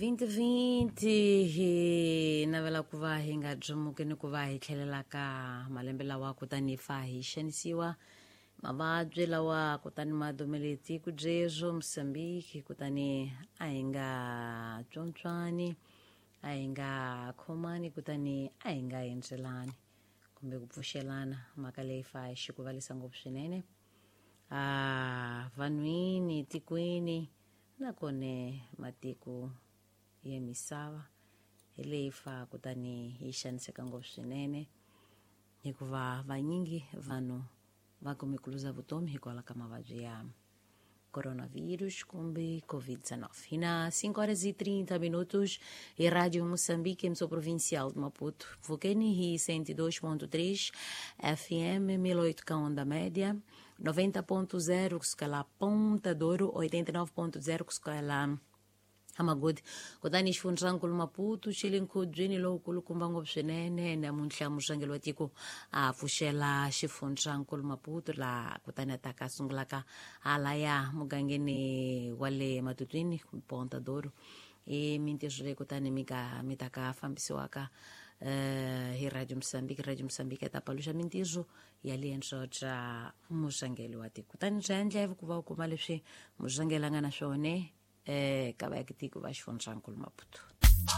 2020 hi navela ku va hi nga byomuki ni ku va hi tlhelela ka malembe lawa kutani hi fa hi xanisiwa mavabyi lawa kutani ma dumele tiko byebyo Mosambiki, kutani a hi nga tswontswani, a hi nga khomani, kutani a hi nga endzelani kumbe ku pfuxelana. Mhaka leyi fa hi xikuvalisa ngopfu swinene a vanhwini tikweni nakone matiko ya misava hi leyi fa kutani yi xaniseka ngopfu swinene, hikuva vanyingi vanhu va kume ku luza vutomi hikwalaho ka mavabyi ya coronavirus kumbe Covid-19. E na 5 horas e 30 minutos, e Rádio Moçambique, emissora provincial de Maputo, Vukeni hi 102.3 FM, 1008 ka onda média, 90.0 kusuka la Ponta Douro, 89.0 kusuka la Amagodi. Kutani xifundzankulu Maputo xi le nkhubyeni lowukulukumba ngopfu swinene namuntlha. Murhangeri wa tiko a pfuxela xifundzankulu Maputo laha kutani a ta ka sungulaka halaya mugangeni wa le Matutwini, Ponta Douro. I mintirho leyi kutani mi ka mi ta ka fambisiwaka hi Radio Mosambiki. Radio Mosambiki ya ta paluxa mintirho ya liendzo bya murhangeri wa tiko, kutani bya endleva ku va u kuma leswi murhangeri a nga na swona ka vaakatiko va xifundzankulu Maputo.